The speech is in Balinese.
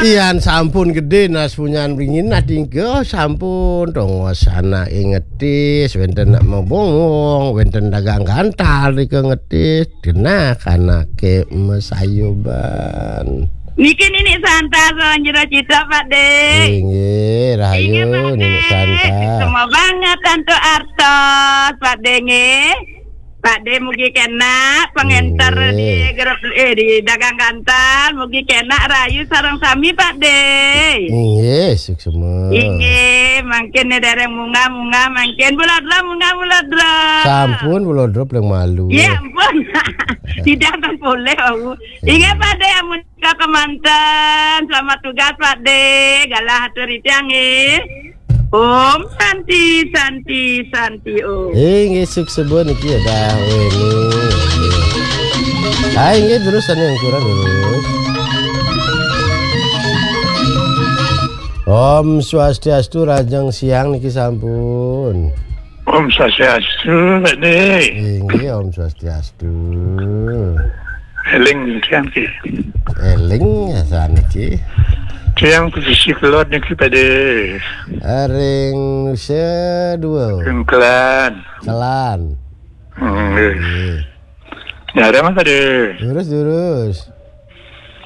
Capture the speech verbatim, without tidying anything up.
Yan sampun gedé nas punyan bringin, nah tingkah sampun tongos anake ngetis, wenten nak mebongong, wenten dagang gantal nika ngetis, genah anake mesayoban. Niki Ninik Santa sawan Jero Citra, Pak De. Inggih, rahayu Inggih, Pak De. Ninik Santa. Semua banget Tantu Artos, Pak De nggih. Pak De mugi kenak pengenter Inggih. Di grup, eh, di dagang gantal, mugi kenak rahayu sareng sami, Pak De. Inggih, suksma. Inggih, mangkin nih dereng munggah-munggah, mangkin bulodro munggah bulodro. Sampun bulodro paling malu. Ya ampun. Tidak akan boleh, aku. Inggih, Pak De, amun ka kemanten. Selamat tugas, Pak De. Galah atur titiang nggih. Om Santi, Santi, Santi Om. Eh, nggih, suksma niki ya, dah. Weh, ini. Hai, nggih, terus anu yang kurang terus. Om Swastiastu, rahajeng siang niki sampun. Om Swastiastu, Pak De. Inggih, Om Swastiastu. Eling tiang ki. Eling ya saniki. Tiang pesisi kelod niki, Pak De. Ring Nusa Dua. Ring Kelan. Kelan. Hmm, nggih. Nggih. Nyareng, Pak De. Durus, durus.